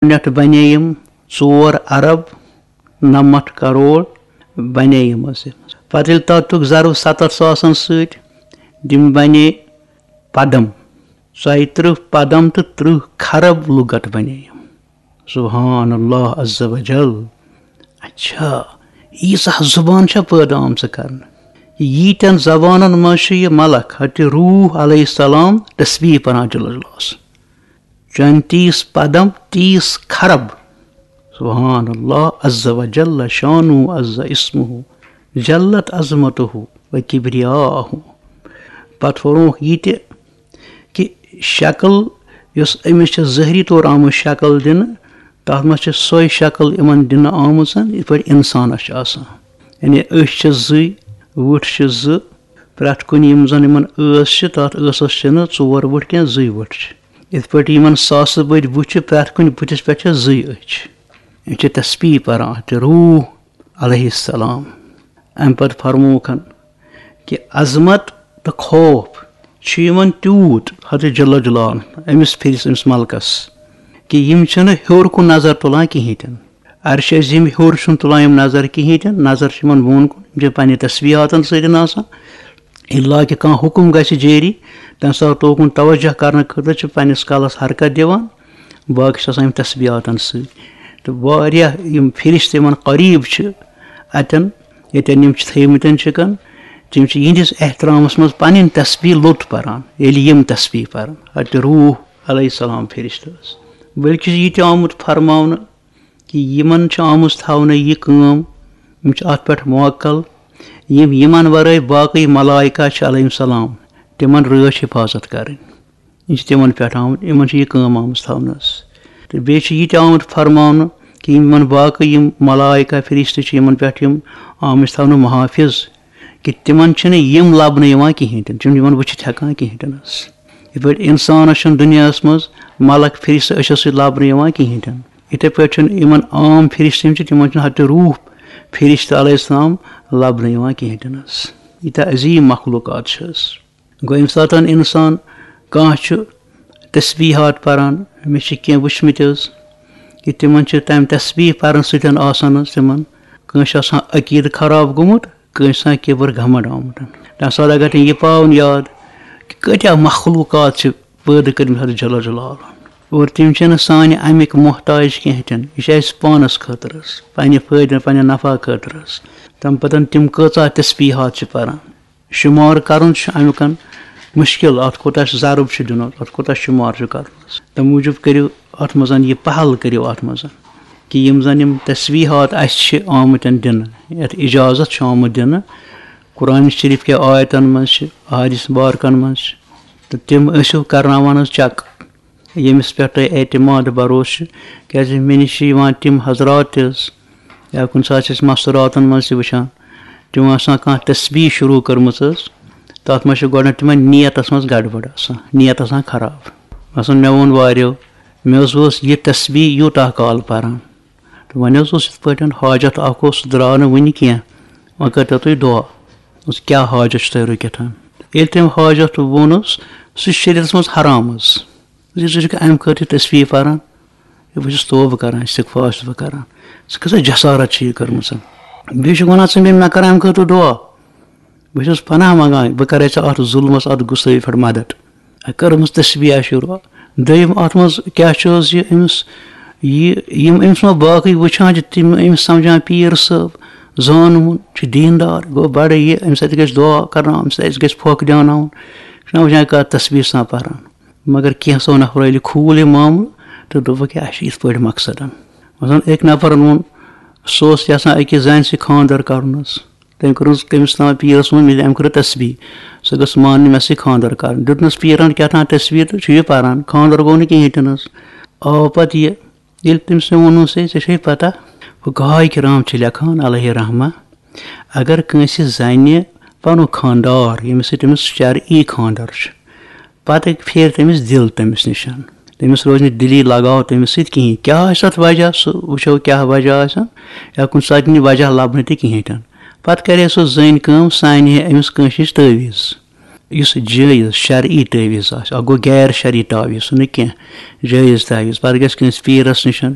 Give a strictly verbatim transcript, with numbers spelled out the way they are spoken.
گۄڈٕنٮ۪تھ بنے یِم ژور ارب نَمَتھ کروڑ بنے یِم حظ۔ پتہٕ ییٚلہِ تَتھ دیُتُکھ ضرب ستتھ ساسن سۭتۍ، تِم بنے پدم۔ ژۄیہِ ترٕٛہ پدم تہٕ ترٕٛہ کھرب لُغت بنے یِم۔ سبحان اللہ عز و جل۔ اچھا، ییٖژاہ زبان چھےٚ پٲدٕ آمژٕ کرنہٕ؟ ییٖتٮ۪ن زبانن منٛز چھُ یہِ ملک حضرت روح علیہ السلام تسبیح پران جل جلالس؟ چون تیس پدم، تیس کھرب۔ سبحان اللہ عز و جل شانہ عز اسمہ، جلت عظمتہ و کبریاہ۔ پتہٕ فرمووُکھ یہِ تہِ کہِ شکل یۄس أمِس چھِ ظٲہری طور آمٕژ شکل دِنہٕ، تَتھ منٛز چھِ سۄے شکل یِمن دِنہٕ آمٕژ یِتھ پٲٹھۍ اِنسانَس چھِ آسان۔ یعنی أچھ چھِ زٕے، وٕٹھ چھِ زٕ، پرٛٮ۪تھ کُنہِ یِم زَن یِمن ٲس چھِ، تَتھ ٲسَس چھِنہٕ ژور وٕٹھ کینٛہہ، زٕے وٕٹھ چھِ۔ یِتھ پٲٹھۍ یِمن ساسہٕ بٔدۍ بُتھ چھِ، پرٛٮ۪تھ کُنہِ بُتھِس پٮ۪ٹھ چھِ زٕے أچھ۔ یِم چھِ تسبیح پَران تہٕ روح علیہ السلام۔ اَمہِ پتہٕ فرمووُکھ کہِ عظمت تہٕ خوف چھُ یِمن تیوٗت حضرت جل جلالہ أمِس پھرِس، أمِس ملکس، کہِ یِم چھِنہٕ ہیوٚر کُن نظر تُلان کِہیٖنۍ تہِ نہٕ۔ عرشہِ عظیٖم ہیوٚر چھُنہٕ تُلان یِم نظر کِہیٖنۍ تہِ نہٕ، نظر چھِ یِمن بۄن کُن، یِم چھِ پننہِ تسبیحاتن سۭتۍ آسان۔ الا کہِ کانٛہہ حُکُم گژھِ جٲری، تَمہِ ساتہٕ توکُن توجہ کرنہٕ خٲطرٕ چھِ پننِس کلس حرکت دِوان، باقٕے چھِ آسان یِم تسبیحاتن سۭتۍ۔ تہٕ واریاہ یِم فرشتہٕ یِمن قریب چھِ اَتٮ۪ن، ییٚتٮ۪ن یِم چھِ تھٲومٕتٮ۪ن چھِکن، تِم چھِ یِہنٛدِس احترامس منٛز پنٕنۍ تسبیح لوٚت پران، ییٚلہِ یِم تسبیح پرن۔ حضرت روح علیہ السلام فرشتہٕ ٲس۔ بلکہِ چھُ یہِ تہِ آمُت فرماونہٕ کہِ یِمن چھِ آمٕژ تھاونہٕ یہِ کٲم، یِم چھِ اتھ پٮ۪ٹھ موکل، یِم یِمن ورٲے باقٕے ملائکہ چھِ علیہم السلام، تِمن رٲچھ حفاظت کرٕنۍ۔ یہِ چھِ تِمن پٮ۪ٹھ آمُت، یِمن چھِ یہِ کٲم آمٕژ تھاونہٕ حظ۔ تہٕ بیٚیہِ چھِ یہِ تہِ آمُت فرماونہٕ کہِ یِم یِمن باقٕے یِم ملائکہ فرشتہٕ چھِ، یِمن پٮ۪ٹھ یِم آمٕتۍ تھاونہٕ محافظ، کہِ تِمن چھِنہٕ یِم لبنہٕ یِوان کِہیٖنۍ تہِ نہٕ، تِم چھِنہٕ یِمن وٕچھِتھ ہٮ۪کان کِہیٖنۍ تہِ نہٕ حظ۔ یِتھ پٲٹھۍ اِنسانَس چھُنہٕ دُنیاہَس منٛز ملک فرشتہٕ أچھو سۭتۍ لبنہٕ یِوان کِہیٖنۍ تہِ نہٕ، یِتھَے پٲٹھۍ چھُنہٕ یِمن عام فرشتہٕ یِم چھِ، تِمن چھُنہٕ حضرت روح فرشتہٕ علیہ السلام لبنہٕ یِوان کِہیٖنۍ تہِ نہٕ حظ۔ ییٖتیٛاہ عظیٖم مخلوقات چھِ حظ۔ گوٚو، ییٚمہِ ساتہٕ اِنسان کانٛہہ چھُ تسبیحات پران، مےٚ چھِ کینٛہہ وٕچھمٕتۍ حظ کہِ تِمن چھِ تَمہِ تسبیح پرنہٕ سۭتۍ آسان حظ تِمن، کٲنٛسہِ آسان عقیٖدٕ خراب گوٚمُت، کٲنٛسہِ آسان کِبر گھمنڈ آمُت۔ تَمہِ ساتہٕ اگر تٔمۍ یہِ پاوُن یاد کہِ کۭتیٛاہ مخلوقات چھِ پٲدٕ کٔرمٕتۍ حضرت جل جلالہ، اور تِم چھِنہٕ سانہِ اَمِکۍ محتاج کینٛہہ تہِ نہٕ، یہِ چھِ اَسہِ پانَس خٲطرٕ حظ، پنٛنہِ فٲیدٕ، پنٛنہِ نفع خٲطرٕ حظ۔ تَمہِ پَتہٕ تِم کۭژاہ تسبیحات چھِ پران۔ شُمار کرُن چھُ اَمیُکَن مُشکِل، اَتھ کوٗتاہ چھُ ضرب چھُ دیُن، اَتھ کوٗتاہ شُمار چھُ کرُن۔ تَمہِ موٗجوٗب کٔرِو اَتھ منٛز یہِ پہل کٔرِو اَتھ منٛز کہِ یِم زَن یِم تسبیحات اَسہِ چھِ آمٕتٮ۪ن دِنہٕ، یَتھ اِجازت چھُ آمُت دِنہٕ، قرآن شریف کہِ آیتَن منٛز چھِ، احادیث مبارکَن منٛز چھِ، تہٕ تِم ٲسِو کرناوان حظ چیک۔ ییٚمِس پٮ۪ٹھ تۄہہِ اعتماد بھروسہٕ چھُ، کیٛازِ مےٚ نِش چھِ یِوان تِم حضرات تہِ حظ، یا کُنہِ ساتہٕ چھِ أسۍ مستوٗراتَن منٛز تہِ وٕچھان، تِمو آسان کانٛہہ تسبیح شروٗع کٔرمٕژ حظ، تَتھ منٛز چھِ گۄڈٕنٮ۪تھ تِمَن نیتَس منٛز گڑبڑ آسان، نیت آسان خراب۔ مثلاً مےٚ ووٚن واریو، مےٚ حظ اوس یہِ تسبیح یوٗتاہ کال پَران، تہٕ وۄنۍ حظ اوس یِتھ پٲٹھۍ حاجت اَکھ اوس، سُہ درٛاو نہٕ وٕنہِ کینٛہہ، وۄنۍ کٔرۍتو تُہۍ دُعا، کیٛاہ حاجت چھُ تۄہہِ رُکِتھ؟ ییٚلہِ تٔمۍ حاجت ووٚنُس، سُہ چھُ شریعتَس منٛز حرام حظ۔ زِ ژٕ چھُکھ اَمہِ خٲطرٕ تسبیح پَران، ہے، بہٕ چھُس توبہٕ کَران، استغفار چھُس بہٕ کَران۔ ژٕ کۭژاہ جسارت چھِ یہِ کٔرمٕژ؟ بیٚیہِ چھُکھ وَنان ژٕ مےٚ، مےٚ کَر اَمہِ خٲطرٕ دُعا؟ بہٕ چھُس پناہ منٛگان، بہٕ کَرے ژےٚ اَتھ ظُلمَس، اَتھ غُصہٕ پٮ۪ٹھ مدد۔ کٔرمٕژ تسبیح شروٗع۔ دوٚیِم اَتھ منٛز کیٛاہ چھُ حظ یہِ أمِس، یہِ، یِم أمِس ما باقٕے وٕچھان چھِ، تِم أمِس سَمجھان پیٖر صٲب، زانوُن چھُ، دیٖندار گوٚو بَڑٕ، یہِ أمِس اَتہِ گژھِ دُعا کَرناوُن، أمِس اَتہِ گژھِ پھۄکھ دیٛاناوُن، چھُنہ وٕچھان کَتھ تسبیح چھُ آسان پَران۔ مگر کینٛژھو نفرو ییٚلہِ کھوٗل یہِ معاملہٕ تہٕ دوٚپُکھ، یہِ، اَسہِ چھُ یِتھ پٲٹھۍ مقصد۔ مثلاً أکۍ نفرَن ووٚن، سُہ اوس یَژھان أکِس زَنہِ سۭتۍ خانٛدر کَرُن حظ۔ تٔمۍ کٔرٕس تٔمِس تام پیٖرَس ووٚن، مےٚ، أمۍ کٔر تسبیح، سۄ گٔژھ مانٕنۍ مےٚ سۭتۍ خانٛدر کَرُن۔ دیُتنَس پیٖرَن کیٛاہ تام تسبیح تہٕ چھُ یہِ پَران، خانٛدر گوٚو نہٕ کِہیٖنۍ تہِ نہٕ حظ۔ آو پَتہٕ یہِ، ییٚلہِ تٔمِس مےٚ ووٚنُس، ہے، ژےٚ چھے پَتہ، فقہاء کرام چھِ لیکھان علیہ رحمہ، اگر کٲنٛسہِ زَنہِ پَنُن خانٛدار، ییٚمِس سۭتۍ تٔمِس شرعی خانٛدر چھُ، پَتہٕ پھیرِ تٔمِس دِل تٔمِس نِش، تٔمِس روزِ نہٕ دِلی لگاو تٔمِس سۭتۍ کِہیٖنۍ۔ کیٛاہ آسہِ تَتھ وجہ؟ سُہ وٕچھو کیٛاہ وجہ آسہِ، یا کُنہِ ساتہٕ یی نہٕ وجہ لَبنہٕ تہِ کِہیٖنۍ تہِ نہٕ۔ پَتہٕ کَرِ سۄ زٔنۍ کٲم، سُہ اَنہِ ہے أمِس کٲنٛسہِ نِش تعویٖذ، یُس جٲیِز شرعی تعویٖذ آسہِ۔ اَکھ گوٚو غیر شرعی تعویٖذ، سُہ نہٕ کینٛہہ، جٲیِز تعویٖذ۔ پَتہٕ گژھِ کٲنٛسہِ پیٖرَس نِش،